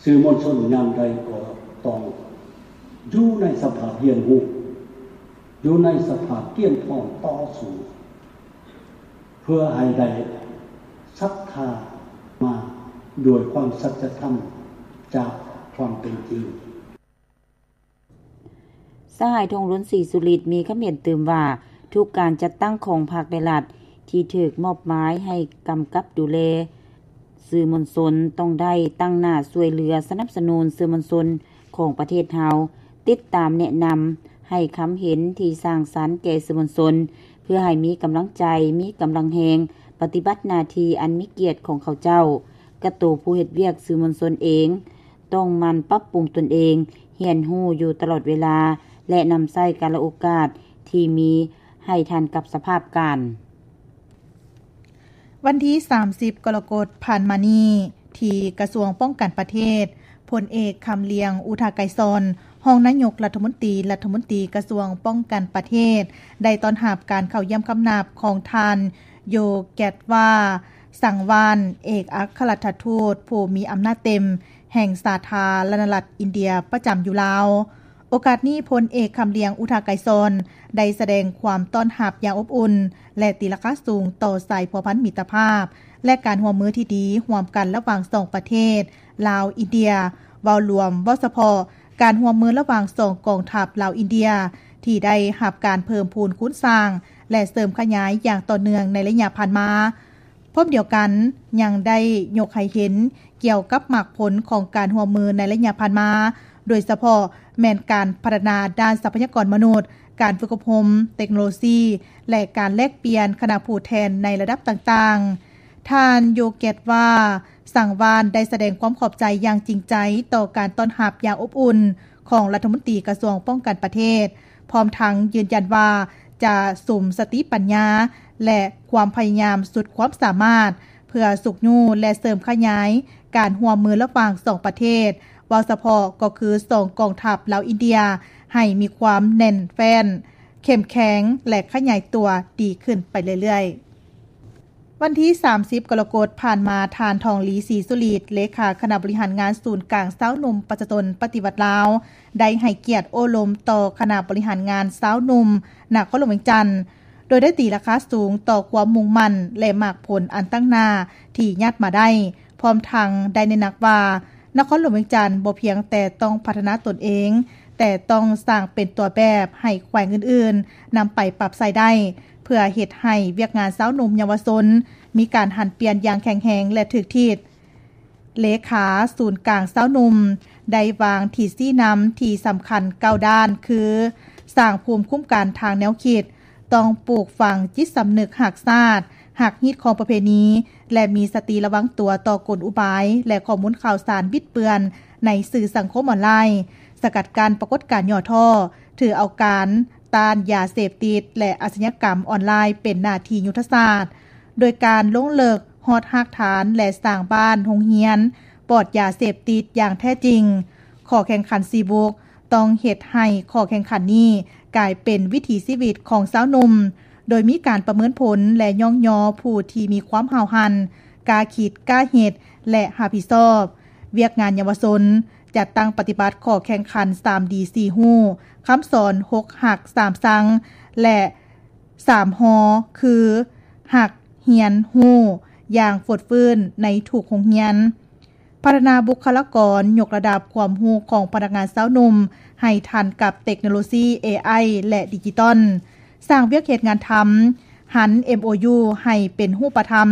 ສື່ມວນຊົນຍາມໃດກໍຕ້ອງຢູ່ໃນສະພາບຮຽນຮູ້, ຢູ່ໃນສະພາບກຽມພ້ອມຕໍ່ສູ້ ເພື່ອໃຫ້ໄດ້ສັດທາມາດ້ວຍຄວາມສັດຈະທຳຈາກຄວາມເປັນຈິງ. ສະຫາຍ ທອງລຸນ ສີສຸລິດ ມີຄຳເຫັນຕື່ມວ່າ ທຸກການຈັດຕັ້ງຂອງພັກ ແລະ ລັດ ທີ່ຖືກມອບໝາຍໃຫ້ກຳກັບດູແລສື່ມວນຊົນ ຕ້ອງໄດ້ຕັ້ງໜ້າຊ່ວຍເຫຼືອສະໜັບສະໜູນສື່ມວນຊົນຂອງປະເທດເຮົາ, ຕິດຕາມແນະນຳ, ໃຫ້ຄຳເຫັນທີ່ສ້າງສັນແກ່ສື່ມວນຊົນ ເພື່ອໃຫ້ມີກຳລັງໃຈ, ມີກຳລັງແຮງ ປະຕິບັດໜ້າທີ່ອັນມີກຽດຂອງເຂົາເຈົ້າ. ກະໂຕຜູ້ເຮັດວຽກສື່ມວນຊົນເອງ ຕ້ອງໝັ່ນປັບປຸງຕົນເອງ, ຮຽນຮູ້ຢູ່ຕະຫຼອດເວລາ ແລະ ນຳໃຊ້ກາລະໂອກາດທີ່ມີໃຫ້ທັນກັບສະພາບການ. ວັນທີສາມສິບ ກໍລະກົດຜ່ານມານີ້ ທີ່ກະຊວງປ້ອງກັນປະເທດ, ພົນເອກ ຄຳລຽງ ອຸທາໄກສອນ ຮອງນາຍົກລັດຖະມົນຕີ, ລັດຖະມົນຕີກະຊວງປ້ອງກັນປະເທດ ໄດ້ຕ້ອນຮັບການເຂົ້າຢ້ຽມຄຳນັບຂອງທ່ານ ໂຢແກດວາ ສັງວານ ເອກອັກຄະລັດຖະທູດຜູ້ມີອຳນາດເຕັມແຫ່ງສາທາລະນະລັດອິນເດຍປະຈຳຢູ່ລາວ. ໂອກາດນີ້, ພົນເອກ ຄຳລຽງ ອຸທາໄກສອນ ໄດ້ສະແດງຄວາມຕ້ອນຮັບຢ່າງອົບອຸ່ນ ແລະ ຕີລາຄາສູງຕໍ່ສາຍພົວພັນມິດຕະພາບ ແລະ ການຮ່ວມມືທີ່ດີຮ່ວມກັນລະຫວ່າງສອງປະເທດ ລາວ-ອິນເດຍ, ເວົ້າລວມ, ເວົ້າສະເພາະ ການຮ່ວມມືລະຫວ່າງສອງກອງທັບລາວ-ອິນເດຍ ທີ່ໄດ້ຮັບການເພີ່ມພູນຄູນສ້າງ ແລະ ເສີມຂະຫຍາຍຢ່າງຕໍ່ເນື່ອງໃນໄລຍະຜ່ານມາ. ພ້ອມດຽວກັນ, ຍັງໄດ້ຍົກໃຫ້ເຫັນກ່ຽວກັບໝາກຜົນຂອງການຮ່ວມມືໃນໄລຍະຜ່ານມາ, ໂດຍສະເພາະແມ່ນການພັດທະນາດ້ານຊັບພະຍາກອນມະນຸດ, ການຝຶກອົບຮົມ, ເຕັກໂນໂລຊີ ແລະ ການແລກປ່ຽນຄະນະຜູ້ແທນໃນລະດັບຕ່າງໆ. ທ່ານ ໂຢແກດວາ ສັງວານ ໄດ້ສະແດງຄວາມຂອບໃຈຢ່າງຈິງໃຈຕໍ່ການຕ້ອນຮັບຢ່າງອົບອຸ່ນຂອງລັດຖະມົນຕີກະຊວງປ້ອງກັນປະເທດ, ພ້ອມທັງຢືນຢັນວ່າຈະສຸມສະຕິປັນຍາ ແລະ ຄວາມພະຍາຍາມສຸດຄວາມສາມາດ ເພື່ອຊຸກຍູ້ ແລະ ເສີມຂະຫຍາຍການຮ່ວມມືລະຫວ່າງສອງປະເທດ, ເວົ້າສະເພາະກໍຄືສອງກອງທັບລາວ-ອິນເດຍ ໃຫ້ມີຄວາມແໜ້ນແຟ້ນ, ເຂັ້ມແຂງ ແລະ ຂະຫຍາຍຕົວດີຂຶ້ນໄປເລື້ອຍໆ. ວັນທີສາມສິບ ກໍລະກົດຜ່ານມາ, ທ່ານ ທອງລີ ສີສຸລິດ ເລຂາຄະນະບໍລິຫານງານສູນກາງຊາວໜຸ່ມປະຊາຊົນປະຕິວັດລາວ ໄດ້ໃຫ້ກຽດໂອ້ລົມຕໍ່ຄະນະບໍລິຫານງານຊາວໜຸ່ມນະຄອນຫຼວງວຽງຈັນ, ໂດຍໄດ້ຕີລາຄາສູງຕໍ່ຄວາມມຸ່ງໝັ້ນ ແລະ ໝາກຜົນອັນຕັ້ງໜ້າທີ່ຍາດມາໄດ້, ພ້ອມທັງໄດ້ເນັ້ນໜັກວ່າ ນະຄອນຫຼວງວຽງຈັນບໍ່ພຽງແຕ່ຕ້ອງພັດທະນາຕົນເອງ, ແຕ່ຕ້ອງສ້າງເປັນຕົວແບບໃຫ້ແຂວງອື່ນໆນຳໄປປັບໃຊ້ໄດ້, ເພື່ອເຮັດໃຫ້ວຽກງານຊາວໜຸ່ມເຍົາວະຊົນມີການຫັນປ່ຽນຢ່າງແຂງແຮງ ແລະ ຖືກທິດ. ເລຂາສູນກາງຊາວໜຸ່ມໄດ້ວາງທິດຊີ້ນຳທີ່ສຳຄັນເກົ້າດ້ານ ຄື ສ້າງພູມຄຸ້ມກັນທາງແນວຄິດ, ຕ້ອງປູກຝັງຈິດສຳນຶກຮັກຊາດ, ຮັກຮີດຄອງປະເພນີ ແລະ ມີສະຕິລະວັງຕົວຕໍ່ກົນອຸບາຍ ແລະ ຂໍ້ມູນຂ່າວສານບິດເບືອນໃນສື່ສັງຄົມອອນລາຍ, ສະກັດກັ້ນປາກົດການຫຍໍ້ທໍ້, ຖືເອົາການຕ້ານຢາເສບຕິດ ແລະ ອາຊະຍາກຳອອນລາຍເປັນໜ້າທີ່ຍຸດທະສາດ, ໂດຍການລົງເລິກຮອດຮາກຖານ ແລະ ສ້າງບ້ານໂຮງຮຽນປອດຢາເສບຕິດຢ່າງແທ້ຈິງ. ຂໍ້ແຂ່ງຂັນສີ່ບຸກ ຕ້ອງເຮັດໃຫ້ຂໍ້ແຂ່ງຂັນນີ້ກາຍເປັນວິຖີຊີວິດຂອງຊາວໜຸ່ມ, ໂດຍມີການປະເມີນຜົນ ແລະ ຍ້ອງຍໍຜູ້ທີ່ມີຄວາມຫ້າວຫັນ, ກ້າຄິດ, ກ້າເຮັດ ແລະ ຮັບຜິດຊອບວຽກງານເຍົາວະຊົນ, ຈັດຕັ້ງປະຕິບັດຂໍ້ແຂ່ງຂັນສາມດີສີ່ຮູ້, ຄຳສອນຫົກຮັກສາມຊັງ ແລະ ສາມຮໍ ຄື ຮັກ, ຮຽນ, ຮູ້ ຢ່າງຟົດຟື້ນໃນທຸກໂຮງຮຽນ. ພັດທະນາບຸກຄະລາກອນ, ຍົກລະດັບຄວາມຮູ້ຂອງພະນັກງານຊາວໜຸ່ມໃຫ້ທັນກັບເຕັກໂນໂລຊີ ເອໄອ ແລະ ດິຈິຕອນ, ສ້າງວຽກເຮັດງານທຳ, ຫັນ ເອັມໂອຢູ ໃຫ້ເປັນຮູບປະທຳ,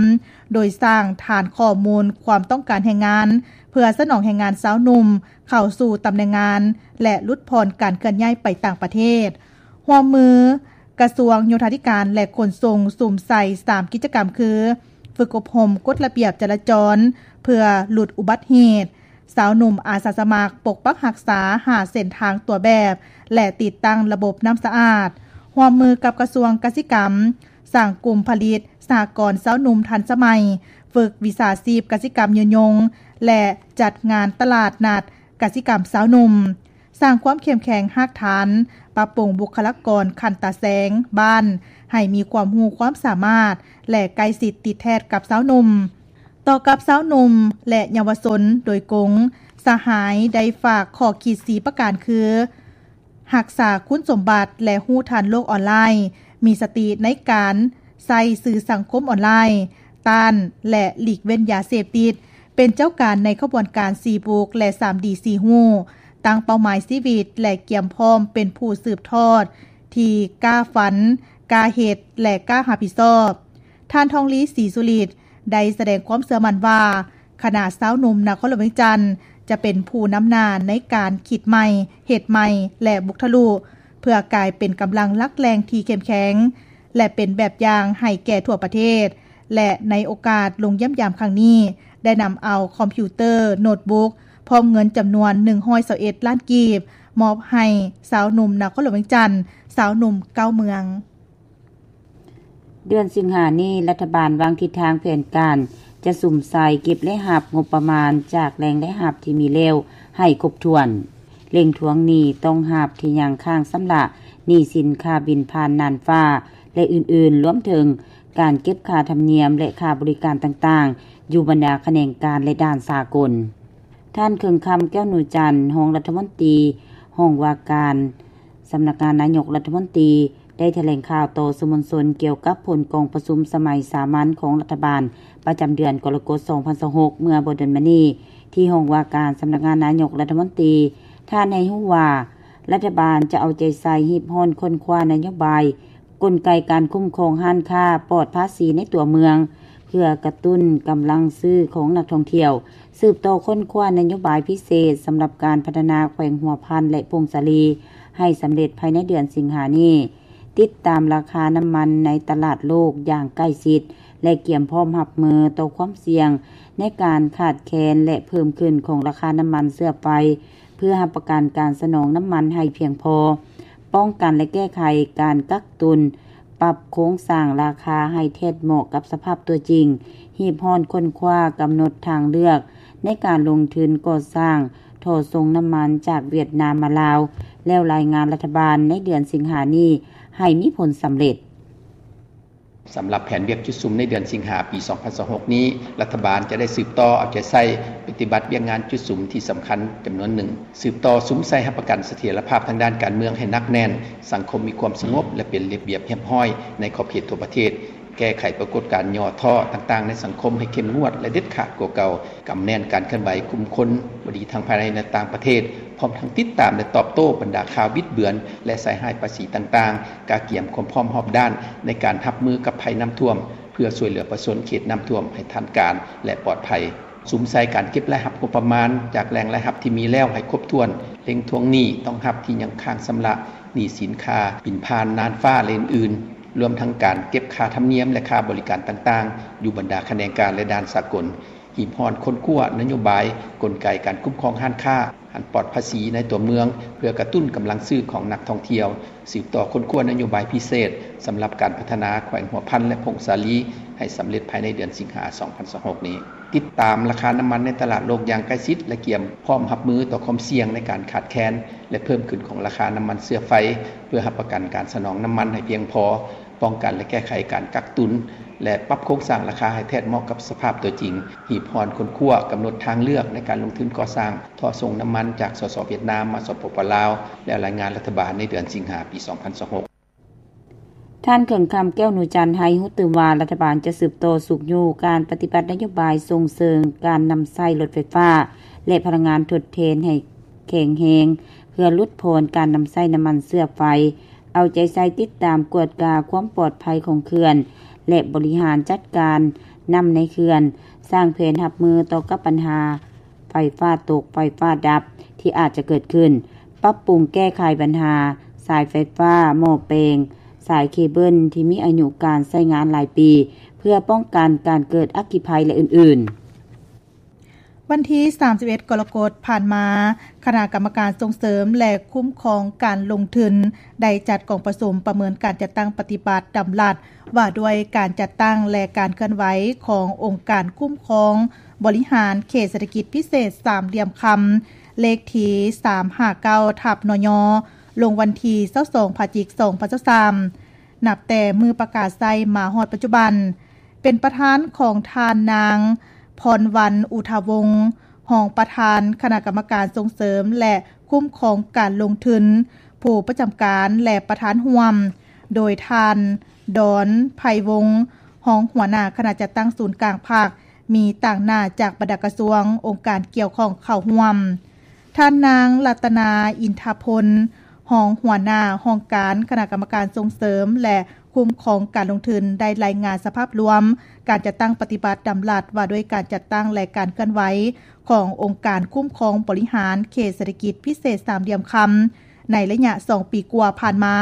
ໂດຍສ້າງຖານຂໍ້ມູນຄວາມຕ້ອງການແຮງງານ ເພື່ອສະໜອງແຮງງານຊາວໜຸ່ມເຂົ້າສູ່ຕຳແໜ່ງງານ ແລະ ຫຼຸດຜ່ອນການເຄື່ອນຍ້າຍໄປຕ່າງປະເທດ. ຮ່ວມມື ກະຊວງໂຍທາທິການ ແລະ ຂົນສົ່ງ ສຸມໃສ່ສາມກິດຈະກຳຄື ຝຶກອົບຮົມກົດລະບຽບຈະລາຈອນເພື່ອຫຼຸດອຸບັດເຫດ, ຊາວໜຸ່ມອາສາສະໝັກປົກປັກຮັກສາຫາເສັ້ນທາງຕົວແບບ ແລະ ຕິດຕັ້ງລະບົບນ້ຳສະອາດ. ຮ່ວມມືກັບກະຊວງກະສິກຳ, ສ້າງກຸ່ມຜະລິດສະຫະກອນຊາວໜຸ່ມທັນສະໄໝ, ຝຶກວິຊາຊີບກະສິກຳຍືນຍົງ ແລະ ຈັດງານຕະຫຼາດນັດກະສິກຳຊາວໜຸ່ມ. ສ້າງຄວາມເຂັ້ມແຂງຮາກຖານ, ປັບປຸງບຸກຄະລາກອນຂັ້ນຕາແສງບ້ານໃຫ້ມີຄວາມຮູ້ຄວາມສາມາດ ແລະ ໃກ້ຊິດຕິດແທດກັບຊາວໜຸ່ມ. ຕໍ່ກັບຊາວໜຸ່ມ ແລະ ເຍົາວະຊົນໂດຍກົງ, ສະຫາຍໄດ້ຝາກຂໍ້ຄິດສີ່ປະການຄື: ຮັກສາຄຸນສົມບັດ ແລະ ຮູ້ທັນໂລກອອນລາຍ, ມີສະຕິໃນການໃຊ້ສື່ສັງຄົມອອນລາຍ, ຕ້ານ ແລະ ຫຼີກເວັ້ນຢາເສບຕິດ, ເປັນເຈົ້າການໃນຂະບວນການສີ່ບຸກ ແລະ ສາມດີສີ່ຮູ້, ຕັ້ງເປົ້າໝາຍຊີວິດ ແລະ ກຽມພ້ອມເປັນຜູ້ສືບທອດທີ່ກ້າຝັນ, ກ້າເຮັດ ແລະ ກ້າຮັບຜິດຊອບ. ທ່ານ ທອງລີ ສີສຸລິດ ໄດ້ສະແດງຄວາມເຊື່ອໝັ້ນວ່າ ຄະນະຊາວໜຸ່ມນະຄອນຫຼວງວຽງຈັນ ຈະເປັນຜູ້ນຳໜ້າໃນການຄິດໃໝ່, ເຮັດໃໝ່ ແລະ ບຸກທະລຸ ເພື່ອກາຍເປັນກຳລັງຫຼັກແຫຼ່ງທີ່ເຂັ້ມແຂງ ແລະ ເປັນແບບຢ່າງໃຫ້ແກ່ທົ່ວປະເທດ ແລະ ໃນໂອກາດລົງຢ້ຽມຢາມຄັ້ງນີ້ ໄດ້ນຳເອົາຄອມພິວເຕີ, ໂນດບຸກ ພ້ອມເງິນຈຳນວນໜຶ່ງຮ້ອຍຊາວເອັດລ້ານກີບ ມອບໃຫ້ຊາວໜຸ່ມນະຄອນຫຼວງວຽງຈັນ, ຊາວໜຸ່ມເກົ້າເມືອງ. ເດືອນສິງຫານີ້, ລັດຖະບານວາງທິດທາງແຜນການຈະສຸມໃສ່ເກັບລາຍຮັບງົບປະມານຈາກແຫຼ່ງລາຍຮັບທີ່ມີແລ້ວໃຫ້ຄົບຖ້ວນ, ເລັ່ງທວງໜີ້ຕ້ອງຮັບທີ່ຍັງຄ້າງຊຳລະ, ໜີ້ສິນຄ່າບິນຜ່ານນ່ານຟ້າ ແລະ ອື່ນໆ, ລວມເຖິງການເກັບຄ່າທຳນຽມ ແລະ ຄ່າບໍລິການຕ່າງໆ ຢູ່ບັນດາຂະແໜງການ ແລະ ດ່ານສາກົນ. ທ່ານ ເຄິ່ງຄຳ ແກ້ວໜູຈັນ, ຮອງລັດຖະມົນຕີ, ຮອງວ່າການ ສຳນັກງານນາຍົກລັດຖະມົນຕີ ໄດ້ຖະແຫຼງຂ່າວຕໍ່ສື່ມວນຊົນກ່ຽວກັບຜົນກອງປະຊຸມສະໄໝສາມັນຂອງລັດຖະບານ ປະຈຳເດືອນກໍລະກົດ ສອງພັນຊາວຫົກ ເມື່ອບໍ່ດົນມານີ້ ທີ່ຫ້ອງວ່າການສຳນັກງານນາຍົກລັດຖະມົນຕີ. ທ່ານໃຫ້ຮູ້ວ່າ ລັດຖະບານຈະເອົາໃຈໃສ່ຮີບຮ້ອນຄົ້ນຄວ້ານະໂຍບາຍ, ກົນໄກການຄຸ້ມຄອງຮ້ານຄ້າປອດພາສີໃນຕົວເມືອງ ເພື່ອກະຕຸ້ນກຳລັງຊື້ຂອງນັກທ່ອງທ່ຽວ, ສືບຕໍ່ຄົ້ນຄວ້ານະໂຍບາຍພິເສດສຳລັບການພັດທະນາແຂວງຫົວພັນ ແລະ ຜົ້ງສາລີ ໃຫ້ສຳເລັດພາຍໃນເດືອນສິງຫານີ້, ຕິດຕາມລາຄານ້ຳມັນໃນຕະຫຼາດໂລກຢ່າງໃກ້ຊິດ ແລະ ກຽມພ້ອມຮັບມືຕໍ່ຄວາມສ່ຽງໃນການຂາດແຄນ ແລະ ເພີ່ມຂຶ້ນຂອງລາຄານ້ຳມັນເຊື້ອໄຟ ເພື່ອຮັບປະກັນການສະໜອງນ້ຳມັນໃຫ້ພຽງພໍ, ປ້ອງກັນ ແລະ ແກ້ໄຂການກັກຕຸນ, ປັບໂຄງສ້າງລາຄາໃຫ້ແທດເໝາະກັບສະພາບຕົວຈິງ, ຮີບຮ້ອນຄົ້ນຄວ້າກຳນົດທາງເລືອກໃນການລົງທຶນກໍ່ສ້າງທໍ່ສົ່ງນ້ຳມັນຈາກຫວຽດນາມມາລາວ, ແລ້ວລາຍງານລັດຖະບານໃນເດືອນສິງຫານີ້ໃຫ້ມີຜົນສຳເລັດ. ສຳລັບແຜນວຽກຈຸດສຸມໃນເດືອນສິງຫາປີສອງພັນຊາວຫົກນີ້, ລັດຖະບານຈະໄດ້ສືບຕໍ່ເອົາໃຈໃສ່ປະຕິບັດວຽກງານຈຸດສຸມທີ່ສຳຄັນຈຳນວນໜຶ່ງ, ສືບຕໍ່ສຸມໃສ່ຮັບປະກັນສະຖຽນລະພາບທາງດ້ານການເມືອງໃຫ້ໜັກແໜ້ນ, ສັງຄົມມີຄວາມສະຫງົບ ແລະ ເປັນລະບຽບຮຽບຮ້ອຍໃນຂອບເຂດທົ່ວປະເທດ, ແກ້ໄຂປາກົດການຫຍໍ້ທໍ້ຕ່າງໆໃນສັງຄົມໃຫ້ເຂັ້ມງວດ ແລະ ເດັດຂາດກວ່າເກົ່າ, ກຳແໜ້ນການເຄື່ອນໄຫວກຸ່ມຄົນບໍ່ດີທັງພາຍໃນ ແລະ ຕ່າງປະເທດ, ພ້ອມທັງຕິດຕາມ ແລະ ຕອບໂຕ້ບັນດາຂ່າວບິດເບືອນ ແລະ ໃສ່ຮ້າຍປາສີຕ່າງໆ, ກະກຽມຄວາມພ້ອມຮອບດ້ານໃນການຮັບມືກັບໄພນ້ຳຖ້ວມ ເພື່ອຊ່ວຍເຫຼືອປະຊາຊົນເຂດນ້ຳຖ້ວມໃຫ້ທັນການ ແລະ ປອດໄພ, ສຸມໃສ່ການເກັບລາຍຮັບງົບປະມານຈາກແຫຼ່ງລາຍຮັບທີ່ມີແລ້ວໃຫ້ຄົບຖ້ວນ, ເລັ່ງທວງໜີ້ຕ້ອງຮັບທີ່ຍັງຄ້າງຊຳລະ, ໜີ້ສິນຄ່າບິນຜ່ານນ່ານຟ້າ ແລະ ອື່ນໆ, ລວມທັງການເກັບຄ່າທຳນຽມ ແລະ ຄ່າບໍລິການຕ່າງໆ ຢູ່ບັນດາຂະແໜງການ ແລະ ດ່ານສາກົນ. ຮີບຮ້ອນຄົ້ນຄວ້ານະໂຍບາຍ, ກົນໄກການຄຸ້ມຄອງຮ້ານຄ້າ ອັນປອດພາສີໃນຕົວເມືອງ ເພື່ອກະຕຸ້ນກຳລັງຊື້ຂອງນັກທ່ອງທ່ຽວ, ສືບຕໍ່ຄົ້ນຄວ້ານະໂຍບາຍພິເສດສຳລັບການພັດທະນາແຂວງຫົວພັນ ແລະ ຜົ້ງສາລີ ໃຫ້ສຳເລັດພາຍໃນເດືອນສິງຫາ ສອງພັນຊາວຫົກນີ້, ຕິດຕາມລາຄານ້ຳມັນໃນຕະຫຼາດໂລກຢ່າງໃກ້ຊິດ ແລະ ກຽມພ້ອມຮັບມືຕໍ່ຄວາມສ່ຽງໃນການຂາດແຄນ ແລະ ເພີ່ມຂຶ້ນຂອງລາຄານ້ຳມັນເຊື້ອໄຟ ເພື່ອຮັບປະກັນການສະໜອງນ້ຳມັນໃຫ້ພຽງພໍ, ປ້ອງກັນ ແລະ ແກ້ໄຂການກັກຕຸນ ແລະ ປັບໂຄງສ້າງລາຄາໃຫ້ແທດເໝາະກັບສະພາບຕົວຈິງ, ຮີບຮ້ອນຄົ້ນຄວ້າກຳນົດທາງເລືອກໃນການລົງທຶນກໍ່ສ້າງທໍ່ສົ່ງນ້ຳມັນຈາກ ສສ ຫວຽດນາມ ມາ ສປປ ລາວ ແລ້ວລາຍງານລັດຖະບານໃນເດືອນສິງຫາ ປີສອງພັນຊາວຫົກ. ທ່ານ ເຄິ່ງຄຳ ແກ້ວໜູຈັນ ໃຫ້ຮູ້ຕື່ມວ່າ ລັດຖະບານຈະສືບຕໍ່ຊຸກຍູ້ການປະຕິບັດນະໂຍບາຍສົ່ງເສີມການນຳໃຊ້ລົດໄຟຟ້າ ແລະ ພະລັງງານທົດແທນໃຫ້ແຂງແຮງ ເພື່ອຫຼຸດຜ່ອນການນຳໃຊ້ນ້ຳມັນເຊື້ອໄຟ, ເອົາໃຈໃສ່ຕິດຕາມກວດກາຄວາມປອດໄພຂອງເຂື່ອນ ແລະ ບໍລິຫານຈັດການນ້ຳໃນເຂື່ອນ, ສ້າງແຜນຮັບມືຕໍ່ກັບບັນຫາໄຟຟ້າຕົກ, ໄຟຟ້າດັບທີ່ອາດຈະເກີດຂຶ້ນ, ປັບປຸງແກ້ໄຂບັນຫາສາຍໄຟຟ້າ, ໝໍ້ແປງ, ສາຍເຄເບິນທີ່ມີອາຍຸການໃຊ້ງານຫຼາຍປີ ເພື່ອປ້ອງກັນການເກີດອັກຄີໄພ ແລະ ອື່ນໆ. ວັນທີສາມສິບເອັດ ກໍລະກົດຜ່ານມາ, ຄະນະກຳມະການສົ່ງເສີມ ແລະ ຄຸ້ມຄອງການລົງທຶນ ໄດ້ຈັດກອງປະຊຸມປະເມີນການຈັດຕັ້ງປະຕິບັດດຳລັດວ່າດ້ວຍການຈັດຕັ້ງ ແລະ ການເຄື່ອນໄຫວຂອງອົງການຄຸ້ມຄອງບໍລິຫານເຂດເສດຖະກິດພິເສດສາມຫຼ່ຽມຄຳ ເລກທີສາມຫ້າເກົ້າ ທັບ ນຍ ລົງວັນທີຊາວສອງ ພະຈິກ ສອງພັນຊາວສາມ. ນັບແຕ່ມື້ປະກາດໃຊ້ມາຮອດປັດຈຸບັນ, ເປັນປະທານຂອງທ່ານນາງ ພອນວັນ ອຸທາວົງ ຮອງປະທານຄະນະກຳມະການສົ່ງເສີມ ແລະ ຄຸ້ມຄອງການລົງທຶນ ຜູ້ປະຈຳການ ແລະ ປະທານຮ່ວມ, ໂດຍທ່ານ ດອນ ໄພວົງ ຮອງຫົວໜ້າຄະນະຈັດຕັ້ງສູນກາງພັກ, ມີຕາງໜ້າຈາກບັນດາກະຊວງ, ອົງການກ່ຽວຂ້ອງເຂົ້າຮ່ວມ. ທ່ານນາງ ລັດຕະນາ ອິນທະພົນ ຮອງຫົວໜ້າຫ້ອງການຄະນະກຳມະການສົ່ງເສີມ ແລະ ຄຸ້ມຄອງການລົງທຶນ ໄດ້ລາຍງານສະພາບລວມການຈັດຕັ້ງປະຕິບັດດຳລັດວ່າດ້ວຍການຈັດຕັ້ງ ແລະ ການເຄື່ອນໄຫວຂອງອົງການຄຸ້ມຄອງບໍລິຫານເຂດເສດຖະກິດພິເສດສາມຫຼ່ຽມຄຳ ໃນໄລຍະສອງປີກວ່າຜ່ານມາ,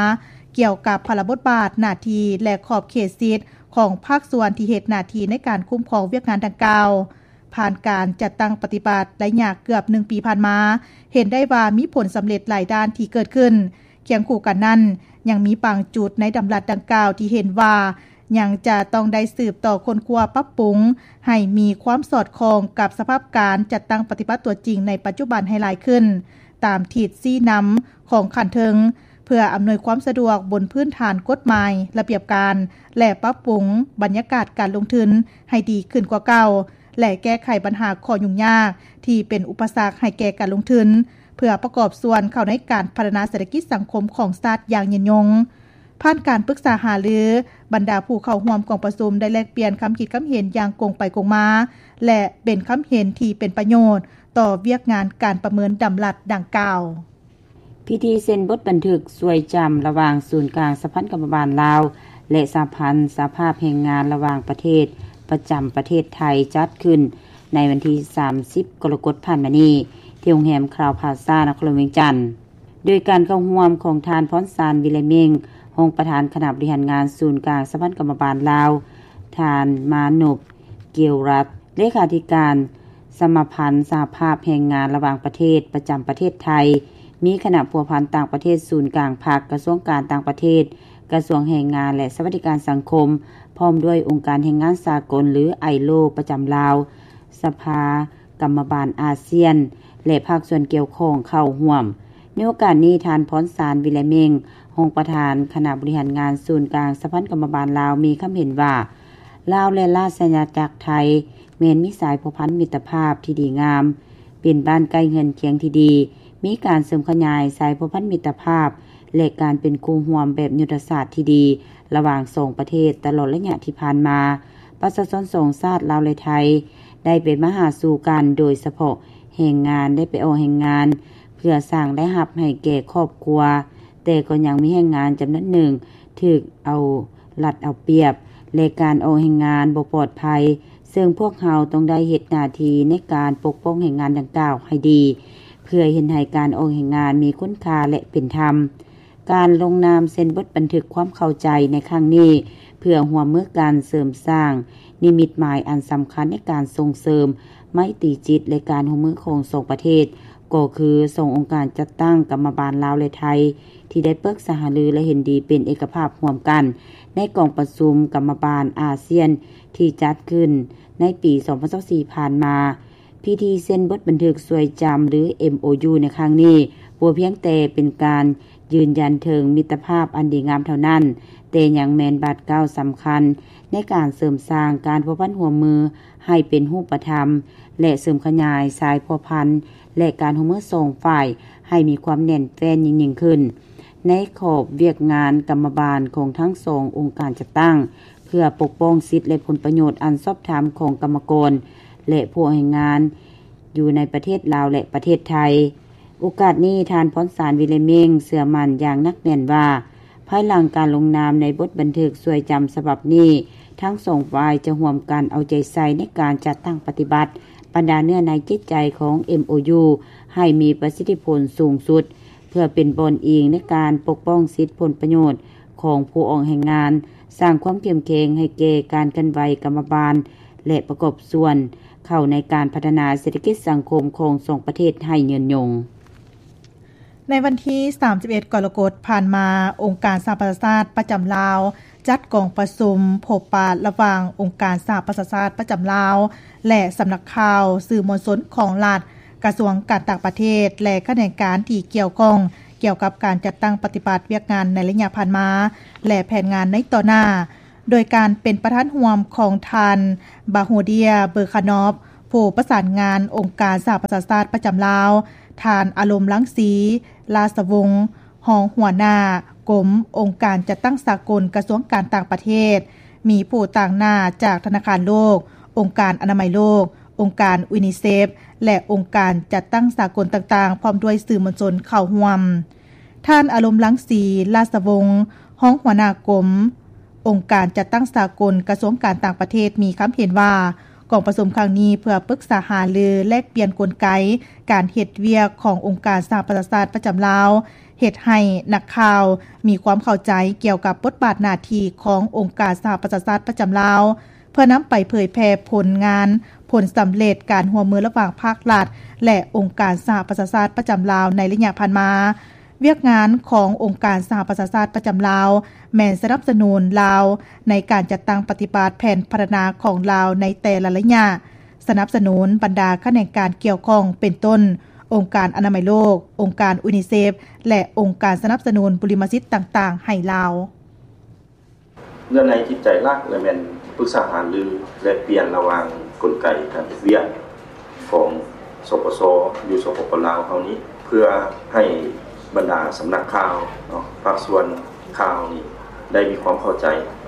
ກ່ຽວກັບພາລະບົດບາດ, ໜ້າທີ່ ແລະ ຂອບເຂດສິດຂອງພາກສ່ວນທີ່ເຮັດໜ້າທີ່ໃນການຄຸ້ມຄອງວຽກງານດັ່ງກ່າວ. ຜ່ານການຈັດຕັ້ງປະຕິບັດໄລຍະເກືອບໜຶ່ງປີຜ່ານມາ, ເຫັນໄດ້ວ່າມີຜົນສຳເລັດຫຼາຍດ້ານທີ່ເກີດຂຶ້ນ. ຄຽງຄູ່ກັນນັ້ນ, ຍັງມີບາງຈຸດໃນດຳລັດດັ່ງກ່າວທີ່ເຫັນວ່າ ຍັງຈະຕ້ອງໄດ້ສືບຕໍ່ຄົ້ນຄວ້າປັບປຸງໃຫ້ມີຄວາມສອດຄ່ອງກັບສະພາບການຈັດຕັ້ງປະຕິບັດຕົວຈິງໃນປັດຈຸບັນໃຫ້ຫຼາຍຂຶ້ນ, ຕາມທິດຊີ້ນຳຂອງຂັ້ນເທິງ, ເພື່ອອຳນວຍຄວາມສະດວກບົນພື້ນຖານກົດໝາຍ, ລະບຽບການ ແລະ ປັບປຸງບັນຍາກາດການລົງທຶນໃຫ້ດີຂຶ້ນກວ່າເກົ່າ ແລະ ແກ້ໄຂບັນຫາຂໍ້ຫຍຸ້ງຍາກທີ່ເປັນອຸປະສັກໃຫ້ແກ່ການລົງທຶນ ເພື່ອປະກອບສ່ວນເຂົ້າໃນການພັດທະນາເສດຖະກິດສັງຄົມຂອງຊາດຢ່າງຍືນຍົງ. ຜ່ານການປຶກສາຫາລື, ບັນດາຜູ້ເຂົ້າຮ່ວມກອງປະຊຸມໄດ້ແລກປ່ຽນຄຳຄິດຄຳເຫັນຢ່າງກົງໄປກົງມາ ແລະ ເປັນຄຳເຫັນທີ່ເປັນປະໂຫຍດຕໍ່ວຽກງານການປະເມີນດຳລັດດັ່ງກ່າວ. ພິທີເຊັນບົດບັນທຶກຊ່ວຍຈຳລະຫວ່າງສູນກາງສະຫະພັນກຳມະບານລາວ ແລະ ສະຫະພັນສະຫະພາບແຮງງານລະຫວ່າງປະເທດ ປະຈຳປະເທດໄທ ຈັດຂຶ້ນໃນວັນທີສາມສິບ ກໍລະກົດຜ່ານມານີ້ ທີ່ໂຮງແຮມຄຣາວພລາຊາ ນະຄອນຫຼວງວຽງຈັນ. ໂດຍການເຂົ້າຮ່ວມຂອງທ່ານ ພອນສານ ວິໄລເມັງ ຮອງປະທານຄະນະບໍລິຫານງານສູນກາງສະຫະພັນກຳມະບານລາວ, ທ່ານ ມານົບ ກຽວລັດ ເລຂາທິການສະມາພັນສະຫະພາບແຮງງານລະຫວ່າງປະເທດ ປະຈຳປະເທດໄທ, ມີຄະນະພົວພັນຕ່າງປະເທດສູນກາງພັກ, ກະຊວງການຕ່າງປະເທດ, ກະຊວງແຮງງານ ແລະ ສະຫວັດດີການສັງຄົມ, ພ້ອມດ້ວຍອົງການແຮງງານສາກົນ ຫຼື ໄອໂລ ປະຈຳລາວ, ສະພາ ກຳມະບານອາຊຽນ ແລະ ພາກສ່ວນກ່ຽວຂ້ອງເຂົ້າຮ່ວມ. ໃນໂອກາດນີ້, ທ່ານ ພອນສານ ວິໄລເມັງ ຮອງປະທານຄະນະບໍລິຫານງານສູນກາງສະຫະພັນກຳມະບານລາວ ມີຄຳເຫັນວ່າ ລາວ ແລະ ລາຊະອານາຈັກໄທ ແມ່ນມີສາຍພົວພັນມິດຕະພາບທີ່ດີງາມ, ເປັນບ້ານໃກ້ເຮືອນຄຽງທີ່ດີ, ມີການເສີມຂະຫຍາຍສາຍພົວພັນມິດຕະພາບ ແລະ ການເປັນຄູ່ຮ່ວມແບບຍຸດທະສາດທີ່ດີ ລະຫວ່າງສອງປະເທດຕະຫຼອດໄລຍະທີ່ຜ່ານມາ. ປະຊາຊົນສອງຊາດລາວ ແລະ ໄທ ໄດ້ໄປມາຫາສູ່ກັນ, ໂດຍສະເພາະແຮງງານໄດ້ໄປອອກແຮງງານ ເພື່ອສ້າງລາຍຮັບໃຫ້ແກ່ຄອບຄົວ, ແຕ່ກໍຍັງມີແຮງງານຈຳນວນໜຶ່ງຖືກເອົາລັດເອົາປຽບ ແລະ ການອອກແຮງງານບໍ່ປອດໄພ, ເຊິ່ງພວກເຮົາຕ້ອງໄດ້ເຮັດໜ້າທີ່ໃນການປົກປ້ອງແຮງງານດັ່ງກ່າວໃຫ້ດີ ເພື່ອເຮັດໃຫ້ການອອກແຮງງານມີຄຸນຄ່າ ແລະ ເປັນທຳ. ການລົງນາມເຊັນບົດບັນທຶກຄວາມເຂົ້າໃຈໃນຄັ້ງນີ້ ເພື່ອຮ່ວມມືກັນເສີມສ້າງນິມິດໝາຍອັນສຳຄັນໃນການສົ່ງເສີມໄມຕີຈິດ ແລະ ການຮ່ວມມືຂອງສອງປະເທດ, ກໍຄືສອງອົງການຈັດຕັ້ງກຳມະບານລາວ ແລະ ໄທ ທີ່ໄດ້ປຶກສາຫາລື ແລະ ເຫັນດີເປັນເອກະພາບຮ່ວມກັນ ໃນກອງປະຊຸມກຳມະບານອາຊຽນທີ່ຈັດຂຶ້ນໃນປີສອງພັນຊາວສີ່ຜ່ານມາ. ພິທີເຊັນບົດບັນທຶກຊ່ວຍຈຳ ຫຼື ເອັມໂອຢູ ໃນຄັ້ງນີ້ ບໍ່ພຽງແຕ່ເປັນການຢືນຢັນເຖິງມິດຕະພາບອັນດີງາມເທົ່ານັ້ນ, ແຕ່ຍັງແມ່ນບາດກ້າວສຳຄັນໃນການເສີມສ້າງການພົວພັນຮ່ວມມືໃຫ້ເປັນຮູບປະທຳ ແລະ ເສີມຂະຫຍາຍສາຍພົວພັນ ແລະ ການຮ່ວມມືສອງຝ່າຍໃຫ້ມີຄວາມແໜ້ນແຟ້ນຍິ່ງໆຂຶ້ນ ໃນຂອບວຽກງານກຳມະບານຂອງທັງສອງອົງການຈັດຕັ້ງ ເພື່ອປົກປ້ອງສິດ ແລະ ຜົນປະໂຫຍດອັນຊອບທຳຂອງກຳມະກອນ ແລະ ຜູ້ອອກແຮງງານ ຢູ່ໃນປະເທດລາວ ແລະ ປະເທດໄທ. ໂອກາດນີ້, ທ່ານ ພອນສານ ວິໄລເມັງ ເຊື່ອໝັ້ນຢ່າງໜັກແໜ້ນວ່າ ພາຍຫຼັງການລົງນາມໃນບົດບັນທຶກຊ່ວຍຈຳສະບັບນີ້, ທັງສອງຝ່າຍຈະຮ່ວມກັນເອົາໃຈໃສ່ໃນການຈັດຕັ້ງປະຕິບັດບັນດາເນື້ອໃນຈິດໃຈຂອງ ເອັມໂອຢູ ໃຫ້ມີປະສິດທິຜົນສູງສຸດ, ເພື່ອເປັນບ່ອນອີງໃນການປົກປ້ອງສິດຜົນປະໂຫຍດຂອງຜູ້ອອກແຮງງານ, ສ້າງຄວາມເຂັ້ມແຂງໃຫ້ແກ່ການເຄື່ອນໄຫວກຳມະບານ ແລະ ປະກອບສ່ວນເຂົ້າໃນການພັດທະນາເສດຖະກິດສັງຄົມຂອງສອງປະເທດໃຫ້ຍືນຍົງ. ໃນວັນທີສາມສິບເອັດ ກໍລະກົດຜ່ານມາ, ອົງການສະຫະປະຊາຊາດປະຈຳລາວ ຈັດກອງປະຊຸມພົບປະລະຫວ່າງອົງການສະຫະປະຊາຊາດປະຈຳລາວ ແລະ ສຳນັກຂ່າວ, ສື່ມວນຊົນຂອງລັດ, ກະຊວງການຕ່າງປະເທດ ແລະ ຂະແໜງການທີ່ກ່ຽວຂ້ອງ ກ່ຽວກັບການຈັດຕັ້ງປະຕິບັດວຽກງານໃນໄລຍະຜ່ານມາ ແລະ ແຜນງານໃນຕໍ່ໜ້າ. ໂດຍການເປັນປະທານຮ່ວມຂອງທ່ານ ບາໂຮເດຍ ເບີຄານອບ ຜູ້ປະສານງານອົງການສະຫະປະຊາຊາດປະຈຳລາວ, ທ່ານ ອາລົມ ລັງສີ ລາຊະວົງ ຮອງຫົວໜ້າກົມອົງການຈັດຕັ້ງສາກົນກະຊວງການຕ່າງປະເທດ, ມີຜູ້ຕາງໜ້າຈາກທະນາຄານໂລກ, ອົງການອະນາໄມໂລກ, ອົງການຢູນິເຊັບ ແລະ ອົງການຈັດຕັ້ງສາກົນຕ່າງໆ ພ້ອມດ້ວຍສື່ມວນຊົນເຂົ້າຮ່ວມ. ທ່ານ ອາລົມ ລັງສີ ລາຊະວົງ ຮອງຫົວໜ້າກົມອົງການຈັດຕັ້ງສາກົນກະຊວງການຕ່າງປະເທດ ມີຄຳເຫັນວ່າ ກອງປະຊຸມຄັ້ງນີ້ເພື່ອປຶກສາຫາລືແລກປ່ຽນກົນໄກການເຮັດວຽກຂອງອົງການສະຫະປະຊາຊາດປະຈຳລາວ ເຮັດໃຫ້ນັກຂ່າວມີຄວາມເຂົ້າໃຈກ່ຽວກັບບົດບາດໜ້າທີ່ຂອງອົງການສະຫະປະຊາຊາດປະຈຳລາວ ເພື່ອນຳໄປເຜີຍແຜ່ຜົນງານ, ຜົນສຳເລັດການຮ່ວມມືລະຫວ່າງພາກລັດ ແລະ ອົງການສະຫະປະຊາຊາດປະຈຳລາວໃນໄລຍະຜ່ານມາ. ວຽກງານຂອງອົງການສະຫະປະຊາຊາດປະຈຳລາວ ແມ່ນສະໜັບສະໜູນລາວໃນການຈັດຕັ້ງປະຕິບັດແຜນພັດທະນາຂອງລາວໃນແຕ່ລະໄລຍະ, ສະໜັບສະໜູນບັນດາຂະແໜງການກ່ຽວຂ້ອງ ເປັນຕົ້ນ ອົງການອະນາໄມໂລກ, ອົງການຢູນິເຊັບ ແລະ ອົງການສະໜັບສະໜູນບຸລິມະສິດຕ່າງໆໃຫ້ລາວ. ເນື້ອໃນຈິດໃຈຫຼັກລະແມ່ນປຶກສາຫາລືແລກປ່ຽນລະຫວ່າງກົນໄກການເຮັດວຽກຂອງ ສປຊ ຢູ່ ສປປ ລາວເຮົານີ້ ເພື່ອໃຫ້ບັນດາສຳນັກຂ່າວເນາະ ພາກສ່ວນຂ່າວນີ້ ໄດ້ມີຄວາມເຂົ້າໃຈ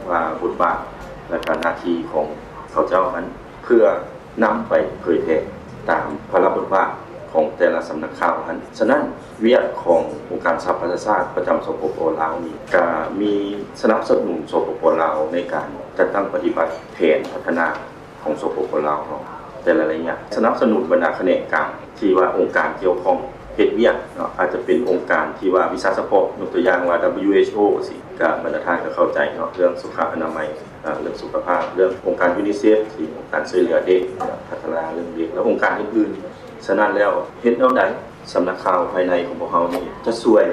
ວ່າບົດບາດ ແລະ ກະໜ້າທີ່ຂອງເຂົາເຈົ້ານັ້ນ ເພື່ອ ນຳໄປເຜີຍແຜ່ຕາມພາລະບົດບາດຂອງແຕ່ລະສຳນັກຂ່າວຫັ້ນ. ສະນັ້ນ ວຽກຂອງອົງການສະຫະປະຊາຊາດປະຈຳ ສປປ ລາວນີ້ ກະມີສະໜັບສະໜູນ ສປປ ລາວ ໃນການຈັດຕັ້ງປະຕິບັດແຜນພັດທະນາຂອງ ສປປ ລາວເຮົາແຕ່ລະໄລຍະ, ສະໜັບສະໜູນບັນດາຂະແໜງການທີ່ວ່າອົງການກ່ຽວຂ້ອງເຮັດວຽກເນາະ, ອາດຈະເປັນອົງການທີ່ວ່າວິຊາສະເພາະ, ຍົກຕົວຢ່າງວ່າ WHO ຊີ້ ກະບັນດາທ່ານກະເຂົ້າໃຈເນາະ, ເລື່ອງສຸຂະອະນາໄມ ເລື່ອງສຸຂະພາບ, ເລື່ອງອົງການຢູນິເຊັບ ທີ່ອົງການຊ່ວຍເຫຼືອເດັກ, ພັດທະນາເລື່ອງເດັກ ແລະ ອົງການອື່ນໆ. ສະນັ້ນແລ້ວ ເຮັດແນວໃດສຳນັກຂ່າວພາຍໃນຂອງພວກເຮົານີ້ ຈະຊ່ວຍ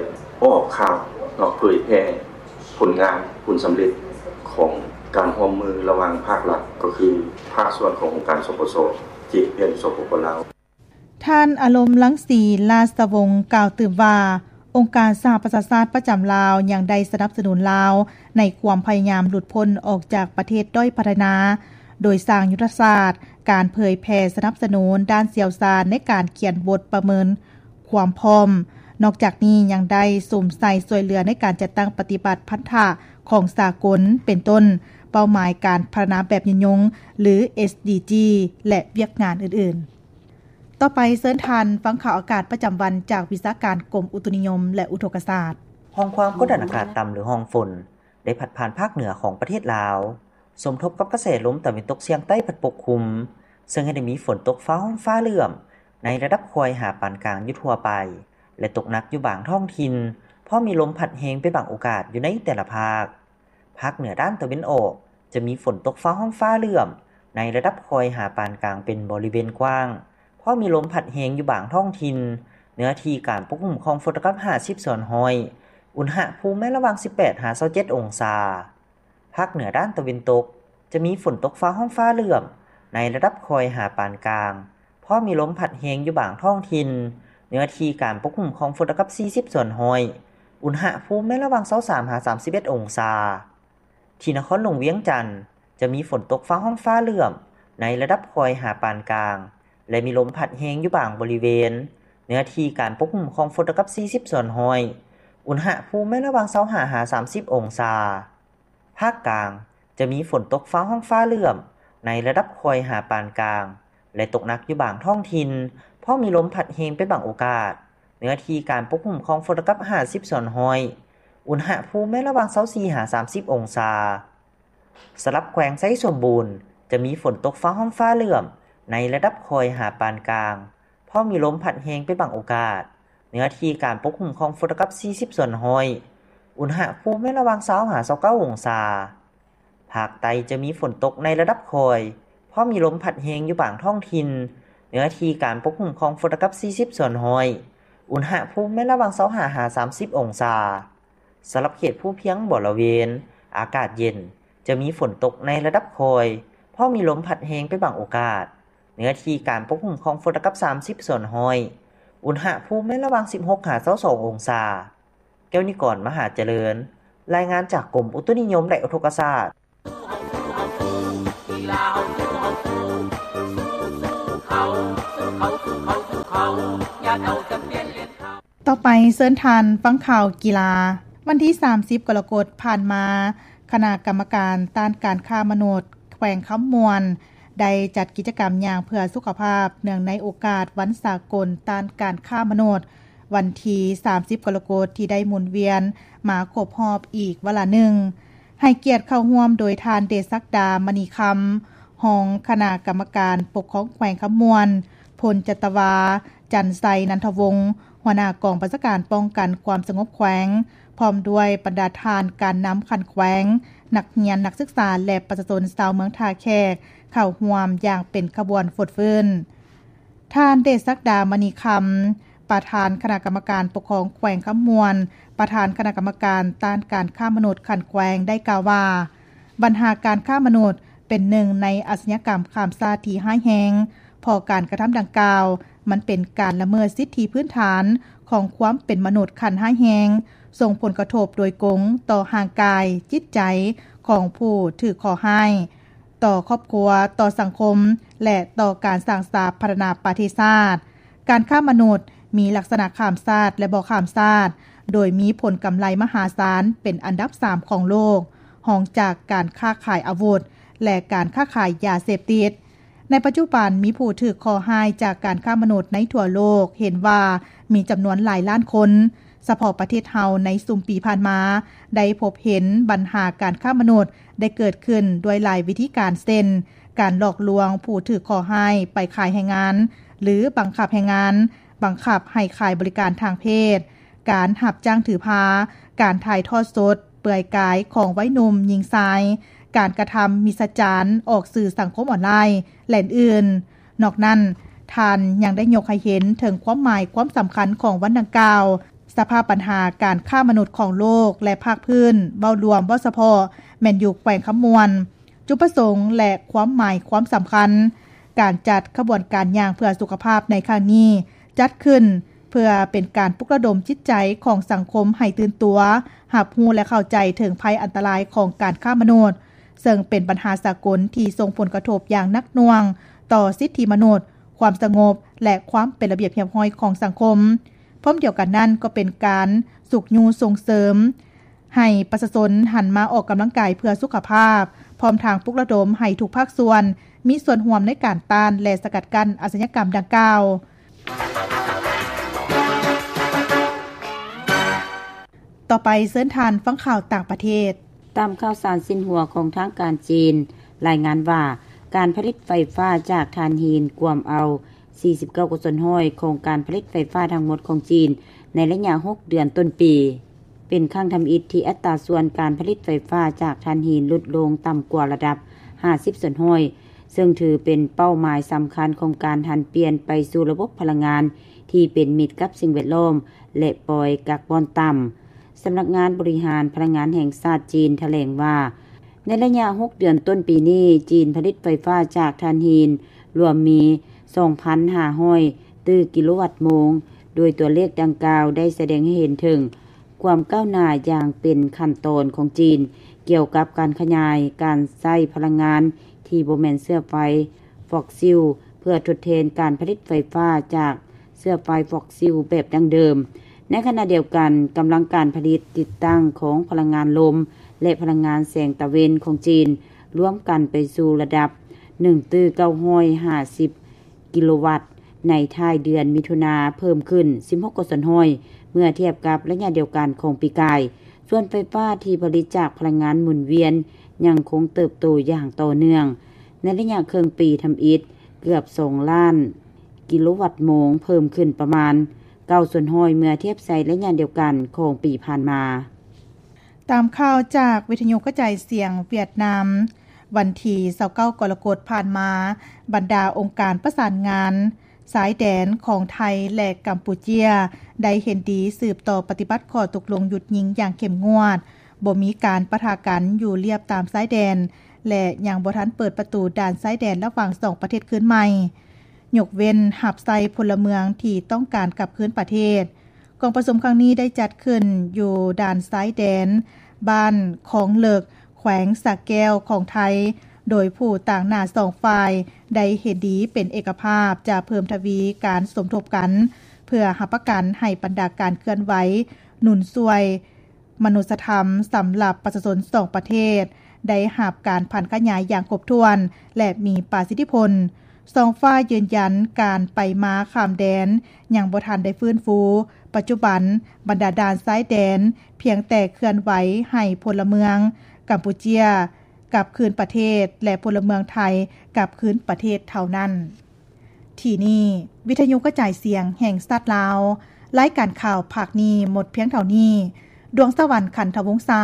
ອອກຂ່າວເນາະ, ເຜີຍແຜ່ຜົນງານ, ຜົນສຳເລັດຂອງການຮ່ວມມືລະຫວ່າງພາກລັດ ກໍຄືພາກສ່ວນຂອງອົງການ ສປຊ ທີ່ເຮັດວຽກຢູ່ ສປປ ລາວ. ທ່ານ ອາລົມ ລັງສີ ລາຊະວົງ ກ່າວຕື່ມວ່າ ອົງການສະຫະປະຊາຊາດປະຈຳລາວ ຍັງໄດ້ສະໜັບສະໜູນລາວໃນຄວາມພະຍາຍາມຫຼຸດພົ້ນອອກຈາກປະເທດດ້ອຍພັດທະນາ ໂດຍສ້າງຍຸດທະສາດການເຜີຍແຜ່ສະໜັບສະໜູນດ້ານຊ່ຽວຊານໃນການຂຽນບົດປະເມີນຄວາມພ້ອມ. ນອກຈາກນີ້ຍັງໄດ້ສຸມໃສ່ຊ່ວຍເຫຼືອໃນການຈັດຕັ້ງປະຕິບັດພັນທະຂອງສາກົນ ເປັນຕົ້ນ ເປົ້າໝາຍການພັດທະນາແບບຍືນຍົງ ຫຼື ເອສດີຈີ ແລະ ວຽກງານອື່ນໆ. ຕໍ່ໄປເຊີນທ່ານຟັງຂ່າວອາກາດປະຈຳວັນຈາກວິຊາການກົມອຸຕຸນິຍົມ ແລະ ອຸທົກກະສາດ. ຮ່ອງຄວາມກົດດັນອາກາດຕ່ຳ ຫຼື ຮ່ອງຝົນ ໄດ້ພັດຜ່ານພາກເໜືອຂອງປະເທດລາວ, ສົມທົບກັບກະແສລົມຕາເວັນຕົກສຽງໃຕ້ພັດປົກຄຸມ, ເຊິ່ງເຮັດໃຫ້ມີຝົນຕົກຟ້າຮ້ອງຟ້າເຫຼື້ອມ ໃນລະດັບຄ່ອຍຫາປານກາງຢູ່ທົ່ວໄປ ແລະ ຕົກໜັກຢູ່ບາງທ້ອງຖິ່ນ, ພ້ອມມີລົມພັດແຮງເປັນບາງໂອກາດຢູ່ໃນແຕ່ລະພາກ. ພາກເໜືອດ້ານຕາເວັນອອກ ຈະມີຝົນຕົກຟ້າຮ້ອງຟ້າເຫຼື້ອມ ໃນລະດັບຄ່ອຍຫາປານກາງເປັນບໍລິເວນກວ້າງ, ພ້ອມມີລົມພັດແຮງຢູ່ບາງທ້ອງຖິ່ນ, ເນື້ອທີ່ການປົກຄຸມຂອງຝົນຕະກັບຫ້າສິບສ່ວນຮ້ອຍ, ອຸນຫະພູມແມ່ນລະຫວ່າງສິບແປດຫາຊາວເຈັດອົງສາ. ພາກເໜືອດ້ານຕາເວັນຕົກ ຈະມີຝົນຕົກຟ້າຮ້ອງຟ້າເຫຼື້ອມ ໃນລະດັບຄ່ອຍຫາປານກາງ, ພ້ອມມີລົມພັດແຮງຢູ່ບາງທ້ອງຖິ່ນ, ເນື້ອທີ່ການປົກຄຸມຂອງຝົນຕະກັບສີ່ສິບສ່ວນຮ້ອຍ, ອຸນຫະພູມແມ່ນລະຫວ່າງຊາວສາມຫາສາມສິບເອັດອົງສາ. ທີ່ນະຄອນຫຼວງວຽງຈັນ ຈະມີຝົນຕົກຟ້າຮ້ອງຟ້າເຫຼື້ອມ ໃນລະດັບຄ່ອຍຫາປານກາງ ແລະ ມີລົມພັດແຮງຢູ່ບາງບໍລິເວນ, ເນື້ອທີ່ການປົກຄຸມຂອງຝົນຕະກັບສີ່ສິບສ່ວນຮ້ອຍ, ອຸນຫະພູມແມ່ນລະຫວ່າງຊາວຫ້າຫາສາມສິບອົງສາ. ພາກກາງ ຈະມີຝົນຕົກຟ້າຮ້ອງຟ້າເຫຼື້ອມ ໃນລະດັບຄ່ອຍຫາປານກາງ ແລະ ຕົກໜັກຢູ່ບາງທ້ອງຖິ່ນ, ພ້ອມມີລົມພັດແຮງເປັນບາງໂອກາດ, ເນື້ອທີ່ການປົກຄຸມຂອງຝົນຕະກັບຫ້າສິບສ່ວນຮ້ອຍ, ອຸນຫະພູມແມ່ນລະຫວ່າງຊາວສີ່ຫາສາມສິບອົງສາ. ສຳລັບແຂວງໄຊສົມບູນ ຈະມີຝົນຕົກຟ້າຮ້ອງຟ້າເຫຼື້ອມ ໃນລະດັບຄ່ອຍຫາປານກາງ, ພ້ອມມີລົມພັດແຮງເປັນບາງໂອກາດ, ເນື້ອທີ່ການປົກຄຸມຂອງຝົນຕະກັບສີ່ສິບສ່ວນຮ້ອຍ, ອຸນຫະພູມແມ່ນລະຫວ່າງຊາວຫາຊາວເກົ້າອົງສາ. ພາກໃຕ້ຈະມີຝົນຕົກໃນລະດັບຄ່ອຍ, ພ້ອມມີລົມພັດແຮງຢູ່ບາງທ້ອງຖິ່ນ, ເນື້ອທີ່ການປົກຄຸມຂອງຝົນຕະກັບສີ່ສິບສ່ວນຮ້ອຍ, ອຸນຫະພູມແມ່ນລະຫວ່າງຊາວຫ້າຫາສາມສິບອົງສາ. ສຳລັບເຂດພູພຽງບໍລະເວນ ອາກາດເຢັນ, ຈະມີຝົນຕົກໃນລະດັບຄ່ອຍ, ພ້ອມມີລົມພັດແຮງເປັນບາງໂອກາດ, ເນື້ອທີ່ການປົກຄຸມຂອງຝົນຕະກັບສາມສິບສ່ວນຮ້ອຍ, ອຸນຫະພູມແມ່ນລະຫວ່າງສິບຫົກຫາຊາວສອງອົງສາ. ແກ້ວນິກອນ ມະຫາຈະເລີນ, ລາຍງານຈາກກົມອຸຕຸນິຍົມ ແລະ ອຸທົກກະສາດ. ຕໍ່ໄປເຊີນທ່ານຟັງຂ່າວກິລາ. ວັນທີສາມສິບກໍລະກົດຜ່ານມາ, ຄະນະກຳມະການຕ້ານການຄ້າມະນຸດແຂວງຄຳມ່ວນ ໄດ້ຈັດກິດຈະກຳຍ່າງເພື່ອສຸຂະພາບ ເນື່ອງໃນໂອກາດວັນສາກົນຕ້ານການຄ້າມະນຸດ ວັນທີສາມສິບກໍລະກົດ ທີ່ໄດ້ໝູນວຽນມາຄົບຮອບອີກວາລະໜຶ່ງ. ໃຫ້ກຽດເຂົ້າຮ່ວມໂດຍທ່ານ ເດຊະສັກດາ ມະນີຄຳ, ຮອງຄະນະກຳມະການປົກຄອງແຂວງຄຳມ່ວນ, ພົນຈັດຕະວາ ຈັນໄຊ ນັນທະວົງ, ຫົວໜ້າກອງບັນຊາການປ້ອງກັນຄວາມສະຫງົບແຂວງ, ພ້ອມດ້ວຍບັນດາທ່ານການນຳຂັ້ນແຂວງ, ນັກຮຽນ, ນັກສຶກສາ ແລະ ປະຊາຊົນຊາວເມືອງທ່າແຂກ ເຂົ້າຮ່ວມຢ່າງເປັນຂະບວນຟົດຟື້ນ. ທ່ານ ເດຊະສັກດາ ມະນີຄຳ, ປະທານຄະນະກຳມະການປົກຄອງແຂວງຄຳມ່ວນ, ປະທານຄະນະກຳມະການຕ້ານການຄ້າມະນຸດຂັ້ນແຂວງ ໄດ້ກ່າວວ່າ, ບັນຫາການຄ້າມະນຸດເປັນໜຶ່ງໃນອາຊະຍາກຳຂ້າມຊາດທີ່ຮ້າຍແຮງ, ເພາະການກະທຳດັ່ງກ່າວ ມັນເປັນການລະເມີດສິດທິພື້ນຖານຂອງຄວາມເປັນມະນຸດຂັ້ນຮ້າຍແຮງ, ສົ່ງຜົນກະທົບໂດຍກົງຕໍ່ຮ່າງກາຍ, ຈິດໃຈຂອງຜູ້ຖືກເຄາະຮ້າຍ, ຕໍ່ຄອບຄົວ, ຕໍ່ສັງຄົມ ແລະ ຕໍ່ການສ້າງສາພັດທະນາປະເທດຊາດ. ການຄ້າມະນຸດມີລັກສະນະຂ້າມຊາດ ແລະ ບໍ່ຂ້າມຊາດ, ໂດຍມີຜົນກຳໄລມະຫາສານເປັນອັນດັບສາມຂອງໂລກ, ຮອງຈາກການຄ້າຂາຍອາວຸດ ແລະ ການຄ້າຂາຍຢາເສບຕິດ. ໃນປັດຈຸບັນມີຜູ້ຖືກເຄາະຮ້າຍຈາກການຄ້າມະນຸດໃນທົ່ວໂລກເຫັນວ່າມີຈຳນວນຫຼາຍລ້ານຄົນ. ສະເພາະປະເທດເຮົາໃນຊຸມປີຜ່ານມາ ໄດ້ພົບເຫັນບັນຫາການຄ້າມະນຸດ ໄດ້ເກີດຂຶ້ນດ້ວຍຫຼາຍວິທີການ ເຊັ່ນ ການຫຼອກລວງຜູ້ຖືກເຄາະຮ້າຍໄປຂາຍແຮງງານ ຫຼື ບັງຄັບແຮງງານ, ບັງຄັບໃຫ້ຂາຍບໍລິການທາງເພດ, ການຮັບຈ້າງຖືພາ, ການຖ່າຍທອດສົດເປືອຍກາຍຂອງໄວໜຸ່ມຍິງຊາຍ, ການກະທຳມິດສະຈານອອກສື່ສັງຄົມອອນລາຍ ແລະ ອື່ນໆ. ນອກນັ້ນ, ທ່ານຍັງໄດ້ຍົກໃຫ້ເຫັນເຖິງຄວາມໝາຍຄວາມສຳຄັນຂອງວັນດັ່ງກ່າວ, ສະພາບບັນຫາການຄ້າມະນຸດຂອງໂລກ ແລະ ພາກພື້ນ, ເວົ້າລວມ, ເວົ້າສະເພາະ, ແມ່ນຢູ່ແຂວງຄຳມ່ວນ. ຈຸດປະສົງ ແລະ ຄວາມໝາຍຄວາມສຳຄັນ, ການຈັດຂະບວນການຍ່າງເພື່ອສຸຂະພາບໃນຄັ້ງນີ້ ຈັດຂຶ້ນເພື່ອເປັນການປຸກລະດົມຈິດໃຈຂອງສັງຄົມໃຫ້ຕື່ນຕົວ, ຮັບຮູ້ ແລະ ເຂົ້າໃຈເຖິງໄພອັນຕະລາຍຂອງການຄ້າມະນຸດ, ເຊິ່ງເປັນບັນຫາສາກົນທີ່ສົ່ງຜົນກະທົບຢ່າງໜັກໜ່ວງຕໍ່ສິດທິມະນຸດ, ຄວາມສະຫງົບ ແລະ ຄວາມເປັນລະບຽບຮຽບຮ້ອຍຂອງສັງຄົມ. ພ້ອມດຽວກັນນັ້ນກໍເປັນການຊຸກຍູ້ສົ່ງເສີມໃຫ້ປະຊາຊົນຫັນມາອອກກຳລັງກາຍເພື່ອສຸຂະພາບ, ພ້ອມທັງປຸກລະດົມໃຫ້ທຸກພາກສ່ວນມີສ່ວນຮ່ວມໃນການຕ້ານ ແລະ ສະກັດກັ້ນອາຊະຍາກຳດັ່ງກ່າວ. ຕໍ່ໄປເຊີນທ່ານຟັງຂ່າວຕ່າງປະເທດ. ຕາມຂ່າວສານຊິນຫົວຂອງທາງການຈີນ ລາຍງານວ່າ ການຜະລິດໄຟຟ້າຈາກຖ່ານຫີນກວມເອົາ ສີ່ສິບເກົ້າສ່ວນຮ້ອຍຂອງການຜະລິດໄຟຟ້າທັງໝົດຂອງຈີນໃນໄລຍະຫົກເດືອນຕົ້ນປີ, ເປັນຄັ້ງທຳອິດທີ່ອັດຕາສ່ວນການຜະລິດໄຟຟ້າຈາກຖ່ານຫີນຫຼຸດລົງຕ່ຳກວ່າລະດັບຫ້າສິບສ່ວນຮ້ອຍ, ເຊິ່ງຖືເປັນເປົ້າໝາຍສຳຄັນຂອງການຫັນປ່ຽນໄປສູ່ລະບົບພະລັງງານທີ່ເປັນມິດກັບສິ່ງແວດລ້ອມ ແລະ ປ່ອຍກາກບອນຕ່ຳ. ສຳນັກງານບໍລິຫານພະລັງງານແຫ່ງຊາດຈີນຖະແຫຼງວ່າ, ໃນໄລຍະຫົກເດືອນຕົ້ນປີນີ້, ຈີນຜະລິດໄຟຟ້າຈາກຖ່ານຫີນລວມມີສອງພັນຫ້າຮ້ອຍຕື້ກິໂລວັດໂມງ, ໂດຍຕົວເລກດັ່ງກ່າວໄດ້ສະແດງໃຫ້ເຫັນເຖິງຄວາມກ້າວໜ້າຢ່າງເປັນຂັ້ນຕອນຂອງຈີນ ກ່ຽວກັບການຂະຫຍາຍການໃຊ້ພະລັງງານທີ່ບໍ່ແມ່ນເຊື້ອໄຟຟອສຊິລ ເພື່ອທົດແທນການຜະລິດໄຟຟ້າຈາກ ເຊື້ອໄຟຟອສຊິລແບບດັ້ງເດີມ. ໃນຂະນະດຽວກັນ, ກຳລັງການຜະລິດຕິດຕັ້ງຂອງພະລັງງານລົມ ແລະ ພະລັງງານແສງຕາເວັນຂອງຈີນ ລວມກັນໄປສູ່ລະດັບໜຶ່ງຕື້ເກົ້າຮ້ອຍຫ້າສິບກິໂລວັດ ໃນທ້າຍເດືອນມິຖຸນາ ເພີ່ມຂຶ້ນສິບຫົກສ່ວນຮ້ອຍ ເມື່ອທຽບກັບໄລຍະດຽວກັນຂອງປີກາຍ. ສ່ວນໄຟຟ້າທີ່ຜະລິດຈາກພະລັງງານໝູນວຽນຍັງຄົງເຕີບໂຕຢ່າງຕໍ່ເນື່ອງ. ໃນໄລຍະເຄິ່ງປີທຳອິດ, ເກືອບສອງລ້ານ ກິໂລວັດໂມງ, ເພີ່ມຂຶ້ນປະມານເກົ້າສ່ວນຮ້ອຍ ເມື່ອທຽບໃສ່ໄລຍະດຽວກັນຂອງປີຜ່ານມາ. ຕາມຂ່າວຈາກວິທະຍຸກະຈາຍສຽງຫວຽດນາມ, ວັນທີຊາວເກົ້າກໍລະກົດຜ່ານມາ, ບັນດາອົງການປະສານງານຊາຍແດນຂອງໄທ ແລະ ກຳປູເຈຍ ໄດ້ເຫັນດີສືບຕໍ່ປະຕິບັດຂໍ້ຕົກລົງຢຸດຍິງຢ່າງເຂັ້ມງວດ, ບໍ່ມີການປະທະກັນຢູ່ລຽບຕາມຊາຍແດນ ແລະ ຍັງບໍ່ທັນເປີດປະຕູດ່ານຊາຍແດນລະຫວ່າງສອງປະເທດຄືນໃໝ່. ຍົກເວັ້ນຮັບໃຊ້ພົນລະເມືອງທີ່ຕ້ອງການກັບຄືນປະເທດ. ກອງປະຊຸມຄັ້ງນີ້ໄດ້ຈັດຂຶ້ນຢູ່ດ່ານຊາຍແດນບ້ານຄອງເລິກ, ແຂ ແຂວງສະແກ້ວຂອງໄທ, ໂດຍຜູ້ຕາງໜ້າສອງຝ່າຍໄດ້ເຫັນດີເປັນເອກະພາບຈະເພີ່ມທະວີການສົມທົບກັນ ເພື່ອຮັບປະກັນໃຫ້ບັນດາການເຄື່ອນໄຫວໜູນຊ່ວຍມະນຸດສະທຳສຳລັບປະຊາຊົນສອງປະເທດ ໄດ້ຮັບການຜັນຂະຫຍາຍຢ່າງຄົບຖ້ວນ ແລະ ມີປະສິດທິຜົນ. ສອງຝ່າຍຢືນຢັນການໄປມາຂ້າມແດນຍັງບໍ່ທັນໄດ້ຟື້ນຟູ. ປັດຈຸບັນບັນດາດ່ານຊາຍແດນພຽງແຕ່ເຄື່ອນໄຫວໃຫ້ພົນລະເມືອງກຳປູເຈຍກັບຄືນປະເທດ ແລະ ພົນລະເມືອງໄທກັບຄືນປະເທດເທົ່ານັ້ນ. ທີ່ນີ້ ວິທະຍຸກະຈາຍສຽງແຫ່ງຊາດລາວ, ລາຍການຂ່າວພາກນີ້ໝົດພຽງເທົ່ານີ້. ດວງສະຫວັນ ຂັນທະວົງສາ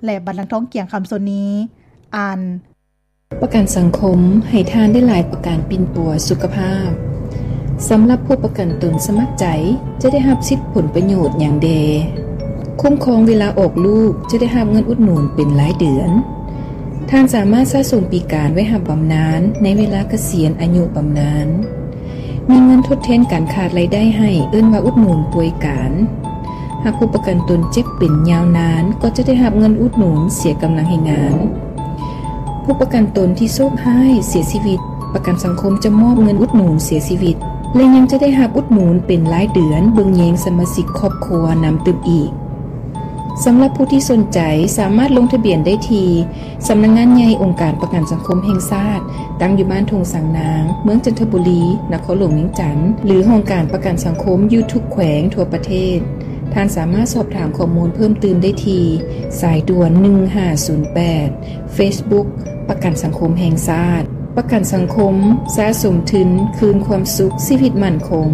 ແລະ ບັນລັງທອງ ກຽງຄຳ ສົນນີ ອ່ານ. ປະກັນສັງຄົມໃຫ້ທ່ານໄດ້ຫຼາຍກວ່າການປິ່ນປົວສຸຂະພາບ. ສຳລັບຜູ້ປະກັນຕົນສະໝັກໃຈ ຈະໄດ້ຮັບສິດຜົນປະໂຫຍດຫຍັງແດ່? ຄຸ້ມຄອງເວລາອອກລູກ ຈະໄດ້ຮັບເງິນອຸດໜູນເປັນລາຍເດືອນ. ທ່ານສາມາດສະສົມປີການໄວ້ຮັບບຳນານໃນເວລາກະສຽນອາຍຸບຳນານ. ມີເງິນທົດແທນການຂາດລາຍໄດ້ໃຫ້ ເອີ້ນວ່າອຸດໜູນປ່ວຍການ. ຫາກຜູ້ປະກັນຕົນເຈັບເປັນຍາວນານ ກໍຈະໄດ້ຮັບເງິນອຸດໜູນເສຍກຳລັງແຮງງານ. ຜູ້ປະກັນຕົນທີ່ໂຊກຮ້າຍເສຍຊີວິດ, ປະກັນສັງຄົມຈະມອບເງິນອຸດໜູນເສຍຊີວິດ ແລະ ຍັງຈະໄດ້ຮັບອຸດໜູນເປັນລາຍເດືອນເບິ່ງແຍງສະມາຊິກຄອບຄົວນຳຕື່ມອີກ. ສຳລັບຜູ້ທີ່ສົນໃຈ ສາມາດລົງທະບຽນໄດ້ທີ່ ສຳນັກງານໃຫຍ່ອົງການປະກັນສັງຄົມແຫ່ງຊາດ, ຕັ້ງຢູ່ບ້ານທົ່ງສາງນາງ, ເມືອງຈັນທະບູລີ, ນະຄອນຫຼວງວຽງຈັນ ຫຼື ຫ້ອງການປະກັນສັງຄົມຢູ່ທຸກແຂວງທົ່ວປະເທດ. ທ່ານສາມາດສອບຖາມຂໍ້ມູນເພີ່ມຕື່ມໄດ້ທີ່ ສາຍດ່ວນ ໜຶ່ງຫ້າສູນແປດ, Facebook ປະກັນສັງຄົມແຫ່ງຊາດ. ປະກັນສັງຄົມ ສະສົມທຶນ ຄືນຄວາມສຸກ ຊີວິດໝັ້ນຄົງ.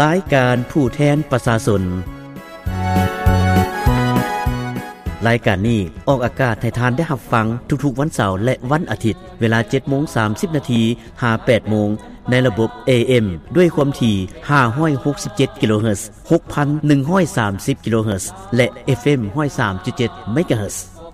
ລາຍການຜູ້ແທນປະຊາຊົນ. ລາຍການນີ້ອອກອາກາດໃຫ້ທ່ານໄດ້ຮັບຟັງທຸກໆວັນເສົາ ແລະ ວັນອາທິດ ເວລາ ເຈັດໂມງສາມສິບນາທີ ຫາ ແປດໂມງ ໃນລະບົບ ເອເອັມ ດ້ວຍຄວາມຖີ່ ຫ້າຮ້ອຍຫົກສິບເຈັດ ກິໂລເຮີດ, ຫົກພັນໜຶ່ງຮ້ອຍສາມສິບ ກິໂລເຮີດ ແລະ ເອັຟເອັມ ຮ້ອຍສາມຈຸດເຈັດ ເມກາເຮີດ.